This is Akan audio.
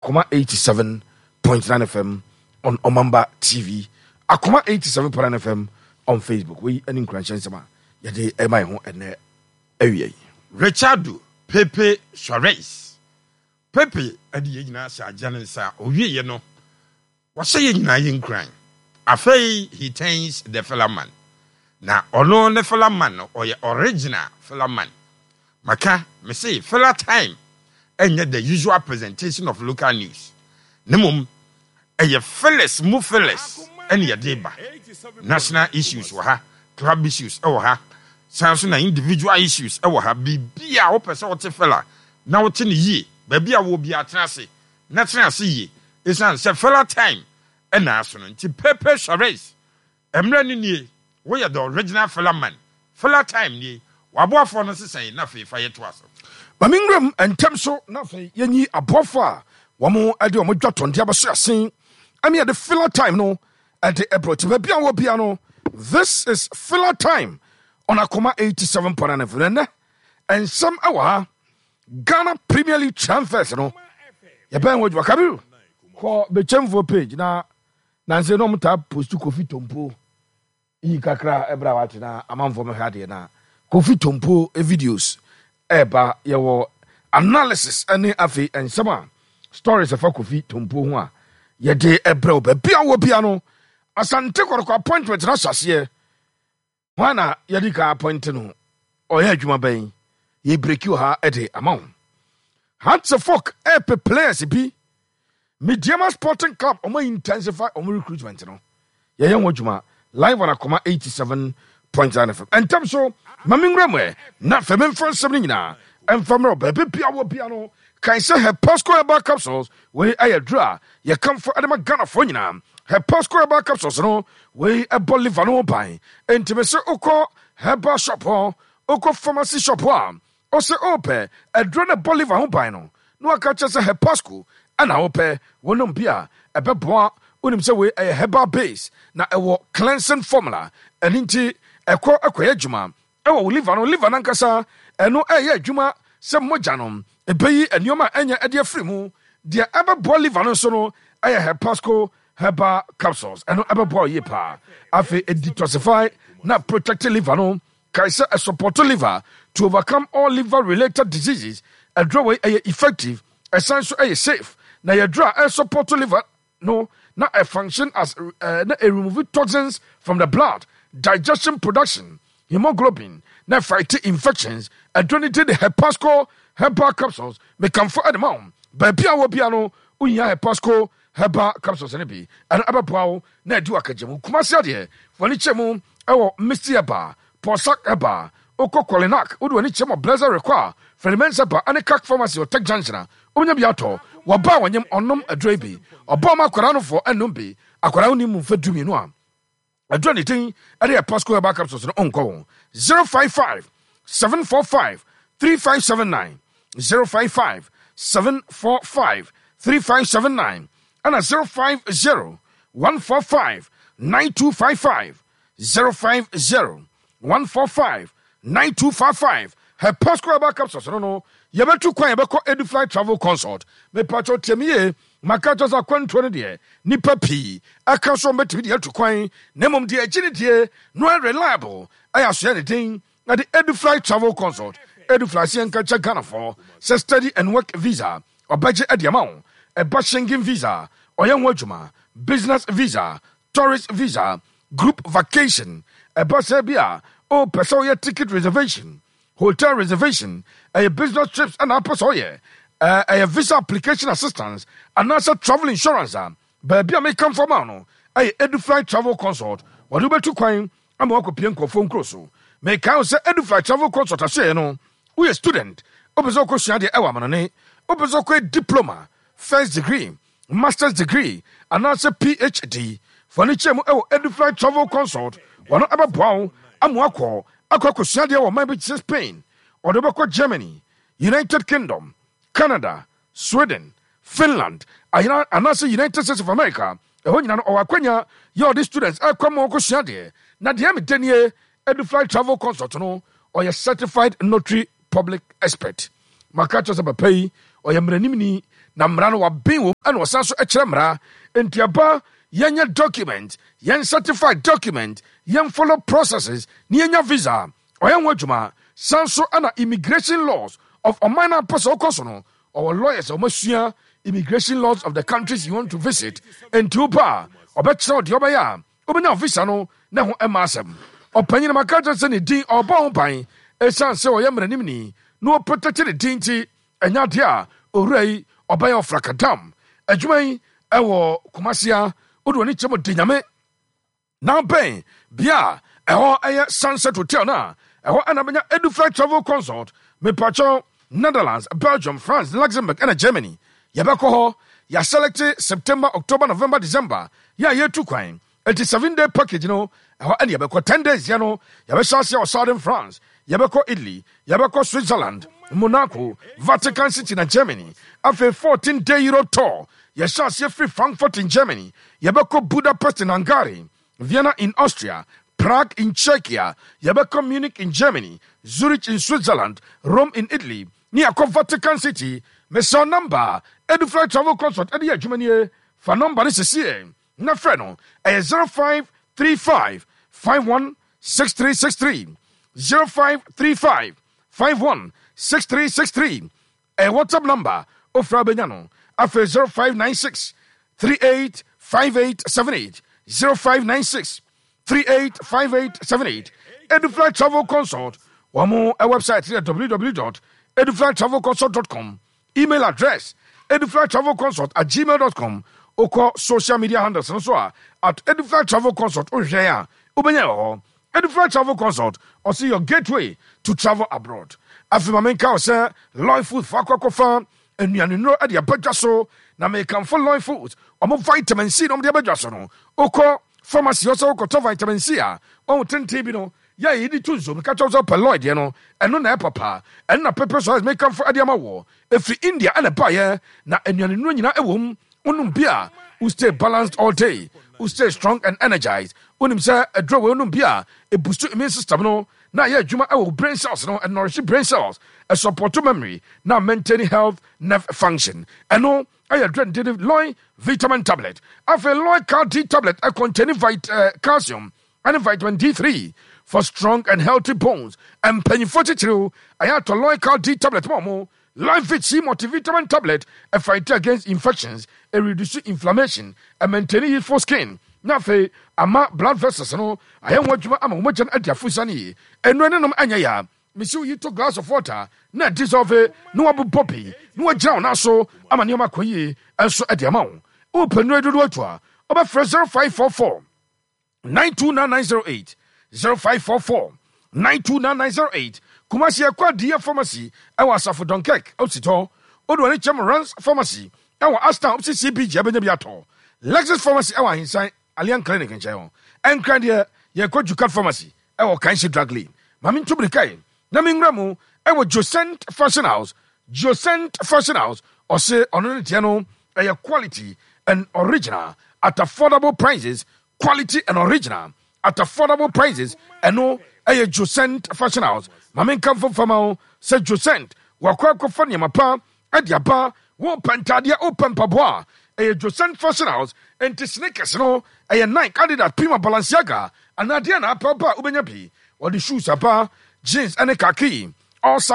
Akoma 87.9 FM on Omamba TV, Akoma 87.9 FM on Facebook. Wei ne nkuranhyɛ nsɛm a yɛde ɛma yɛn ho ɛnɛ awia yi. Richardo Pepe Suarez Pepe de yɛn nyinaa hyɛ agya ne nsa. Owieɛ no, wahyɛ yɛn nyinaa yɛn nkuran. Afei he turns the fella man. Na ɔno ne fella man no, ɔyɛ original fella man. Maka, mese fella time ɛnyɛ the usual presentation of local news. Na mmom, ɛyɛ fillers mu fillers ɛne yɛde ba. National issues wɔ ha, club issues ɛwɔ ha, san so na individual issues ɛwɔ ha. Biribi a wopɛ sɛ wote fella na wote no yie, baabi a wowɔ biara tena ase na tena ase yie esiane sɛ fella time na aso no nti. Pepe Suarez, mmerɛ no nie, woyɛ the original fella man, fella time nie, w'aboafoɔ no sesa yi na afei fa yɛ toa so. Ma me nwura mu ntɛm so na afei yɛnyi aboafoɔ a wɔn de wɔn dwatɔndeɛ abɛso asen ɛne yɛde filler time no ɛde ɛbrɛ ti baabi a wɔ bia no. This is filler time on Akoma 87.9 FM. Ɛnɛ nsɛm ɛwɔ ha. Ghana Premier League transfers no yɛbɛn ho adwuma. Kabiru kɔ Bɛkyɛmfoɔ page na nanse na ɔmo taa post Kofi Tompo yi kakra ɛbrɛ a wate na amanfoɔ mɛhwɛ adeɛ na Kofi Tompo videos ɛɛba. Yɛwɔ analysis ɛne afei nsɛm a stories ɛfa Kofi Tompo ho a yɛde ɛbrɛ wo baabi a wɔ bia no. Asante Kɔtɔkɔ appointment no ahyɛ aseɛ. Hwan na yɛde ka appoint no? Ɔyɛ adwuma bɛn? Yɛ breki wɔ ha de ama wo. Hearts of Oak ɛpɛ players bi. Medeama Sporting Club ɔmo intensify ɔmo recruitment no. Yɛyɛ ho adwuma live on Akoma 87.9 FM. Ɛntɛm so ma me nwura mu ɛ na fɛ memfa nsɛm no nyinaa ɛmfa mmerɛ baabi bia wɔ bia no. Kae sɛ Hepasco Herbal Capsules wei ɛyɛ duro a yɛkamfo ɛde ma Ghanafoɔ nyinaa. Hepasco Herbal Capsules no wei ɛbɔ liver no ho ban. Enti me se wokɔ herbal shop hɔ, wokɔ pharmacy shop hɔ a, ɔsɛ ɔpɛ aduro no ɛbɔ liver ho ban no, na waka kyerɛ sɛ Hepasco ɛna wopɛ. Wonom bi a ɛbɛboa. Wonim sɛ wei ɛyɛ herbal base na ɛwɔ cleansing formula, ɛno nti ɛkɔ ɛkɔyɛ adwuma ɛwɔ wo liver no. Liver no ankasa ɛno ɛyɛ adwuma sɛ mogya no ɛbɛyi nneɛma a ɛnyɛ ɛde afiri mu. Deɛ ɛbɛboa liver no nso no ɛyɛ Hepasco Herbal Capsules, ɛno ɛbɛboa wo yie paa. Afei ɛdetoxify na protect liver no. Kae sɛ ɛsupport liver to overcome all liver related diseases. Aduro wei ɛyɛ effective, ɛsan so ɛyɛ safe, na yɛ aduro a ɛsupport liver no na ɛ function as na ɛ remove toxins from the blood, digestion production, hemoglobin, na fight infections. Aduro no din de Hepasco Herbal Capsules. Mekamfo ɛde ma wo. Baabi a wɔ bia no wohia Hepasco Herbal Capsules no bi, ɛno ɛbɛboa wo na adi wakagya mu. Kumasi adeɛ w'ani kyɛ mu ɛwɔ Misty Herbal, Pɔsak Herbal, wokɔ Kolinak wode w'ani kyɛ mu Blessed Rekɔ a Ferdinand Herbal ɛne Kak Pharmacy wɔ Tech Junction a wobɛnya bi atɔ. Wɔba a wɔnyem ɔnom aduro yi bi, ɔba ɔma akwadaa no foɔ ɛnom bi. Akwadaa wonni mu mfɛ 12 a aduro ne din ɛde yɛ Pasco Herbal Capsules no ɔnkɔ wɔn 055 745 3579, 055 745 3579 ɛna 050 145 9255, 050 145 9255. Hepasco Herbal Capsules no yɛbɛtu kwan yɛbɛkɔ Edufly Travel Consult. Mepatwɛ tiam yie, maka kyerɛ sɛ akwantuo no deɛ nipa pii ɛka so ɔmbɛtumi de atu kwan, na mmom deɛ agyi ne die no ɛ reliable ɛyɛ asoɛ ne den na de Edufly Travel Consult. Edufly sɛ yɛnka kyɛ Ghanafoɔ sɛ study and work visa ɔbɛgye ɛde ama wo, ɛba Schengen visa ɔyɛ ho adwuma, business visa, tourist visa, group vacation, ɛba sɛ bi a wopɛ sɛ woyɛ ticket reservation, hotel reservation, ɛyɛ business trips ɛna apɛ sɛ ɔyɛ, ɛyɛ visa application assistance anaasɛ travel insurance a, baabi a mekamfo ama no ɛyɛ Edufly Travel Consult. Wɔde wobɛtu kwan ama wakɔpie nkurɔfoɔ nkuro so. Mekae wo sɛ Edufly Travel Consult ahyɛeɛ no, woyɛ student, wopɛ sɛ wokɔsua adeɛ ɛwɔ amanɔne, wopɛ sɛ wokɔyɛ diploma, first degree, master's degree anaasɛ PhD, fa no kyerɛ mu ɛwɔ Edufly Travel Consult. Wɔno ɛbɛboa wo ama wakɔ akɔ akɔsua adeɛ wɔ ɔman bi te sɛ Spain, ɔde wobɛkɔ Germany, United Kingdom, Canada, Sweden, Finland, ayena anaasɛ United States of America. Ɛhɔ nyina no ɔwɔ akwanya yɛ ɔde students ɛkɔ ma wɔkɔsua adeɛ. Na deɛ meda nie, Edufly Travel Consult no ɔyɛ certified notary public expert. Maka kyerɛ sɛ papa yi ɔyɛ mmaranimni Na mmara no waben wom ɛna ɔsan so kyerɛ mmara. Enti ɛba yɛnyɛ document, yɛn certify document, yɛn follow processes na yɛnya visa. Ɔyɛ ho adwuma. San so ɛna immigration laws of ɔman no a wopɛ sɛ wokɔ so no, ɔwɔ lawyers a wɔasua immigration laws of the countries you want to visit. Enti wopɛ a, ɔbɛkyerɛ wo deɛ wobɛyɛ a wobɛnya visa no na ɛho mma asɛm. Ɔpanyin no maka akyerɛ sɛ ne din ɔrebɔ ho ban esiane sɛ ɔyɛ mmaranimni na ɔprotɛkte ne din nti. Ɛnyɛ adeɛ a owura yi ɔbɛyɛ ɔfrakadam adwuma yi ɛwɔ Kumasi a wode w'ani kyerɛ mu de nyame na bɛn bea a ɛhɔ ɛyɛ Sunset Hotel no a ɛhɔ ɛna bɛnya Edufly Travel Consult mepakyɛw Netherlands, Belgium, France, Luxembourg ɛna Germany yɛbɛkɔ hɔ yɛaselɛkte September, October, November, December yɛ a yɛtu kwan Enti 7 day package no, ɛhɔ ɛne yɛbɛkɔ. 10 days yɛ no, yɛbɛhyɛ aseɛ wɔ southern France, yɛbɛkɔ Italy, yɛbɛkɔ Switzerland, Monaco, Vatican City na Germany. Afei 14 day Europe tour, yɛhyɛ aseɛ firi Frankfurt in Germany, yɛbɛkɔ Budapest in Hungary, Vienna in Austria, Prague in Czechia, yɛbɛkɔ Munich in Germany, Zurich in Switzerland, Rome in Italy, ne yɛakɔ Vatican City. Mesrɛ number Edufly Travel Consult ɛde yɛ adwuma nie. Fa number no sɛsie na frɛ no, ɛyɛ 0535 51 6363, 0535 51 6363. Ɛyɛ WhatsApp number, ofra bɛnya no. Afei 0596 38 5878, 0596 38 5878. Edufly Travel Consult, wɔn mo website yɛ www.eduflytravelconsult.com, email address eduflytravelconsult@gmail.com. Wokɔ social media handles no so a, @EduflyTravelConsult, wohwehwɛ a wobɛnya wɔ hɔ. Edufly Travel Consult, ɔse your gateway to travel abroad. Afei ma menka wo sɛ Loy Food fa akɔ akɔfa nnuane de abadwa so, na mekamfo Loy Foods ɔmo vitamin C na ɔmo de abadwa so no. Wokɔ pharmacy hɔ sɛ wokɔtɔ vitamin C a, ɔho tenten bi no yɛ a yɛde to nsuo, meka kyerɛ wo sɛ wopɛ Loy deɛ no, ɛno na ɛpapa. Ɛno na Pepe so mekamfo de ama wɔ. Ɛfiri India ɛna ɛbaeɛ, na nnuane nnuro nyinaa ɛwɔ mu. Wonom bi a, wo stay balanced all day, wo stay strong and energized. Wonim sɛ aduro wei, wonom bi a, ɛboost immune system no na ɛyɛ adwuma ɛwɔ brain cells no, ɛnourish brain cells, ɛsupport memory na maintain health nerve function. Ɛno ɛyɛ aduro de Loy vitamin tablet. Afei Loy Cal D tablet ɛcontain vit calcium ɛne vitamin D3 for strong and healthy bones. Mpanyinfoɔ titiriw, ɛyɛ atɔ Loy Cal D tablet ma ɔmo. Life C multivitamin tablet fight against infections, ɛ reduce inflammation, ɛ maintain youthful skin, na afei ama blood vessels no ayɛ ho adwuma ama wɔn mogya no adi afusa no yie. Nnuro ne nom ɛnyɛ ya. Mesi wo yi to glass of water na dissolve na wabobɔ bi na wagyina wo nan so ama nneɛma akɔ yie nso de ama wo. Wopɛ nnuro dodoɔ atu a, wobɛfrɛ 0544 929908, 0544 929908. Kumasi, ɛkɔ Adiya Pharmacy ɛwɔ Asafo Dunkirk Ositɔ. Wode w'ani kyɛm Rans Pharmacy ɛwɔ Ashtown opposite CBG abɛnya bi atɔ. Lexus Pharmacy ɛwɔ Ahensan Allian Clinic nkyɛn hɔ. Ɛnkran deɛ, yɛkɔ Jukat Pharmacy ɛwɔ Kanshi Drug Lane. Ma mentu mirika yi na menwura mu ɛwɔ Josent Fashion House. Josent Fashion House, ɔse ɔno ne deɛ no ɛyɛ quality and original at affordable prices. Quality and original at affordable prices, ɛno ɛyɛ Josent Fashion House. Ma menka mfomfama ho sɛ Josent wakɔ akɔfa nneɛma pa ɛde aba. Wopɛ ntadeɛ, wopɛ mpaboa a, ɛyɛ Josent Fashion House. Nti sneakers no ɛyɛ Nike, Adidas, Puma, Balenciaga anaa deɛ na apɛ ba a, wobɛnya bi. Wɔde shoes aba, jeans ɛne khaki all size.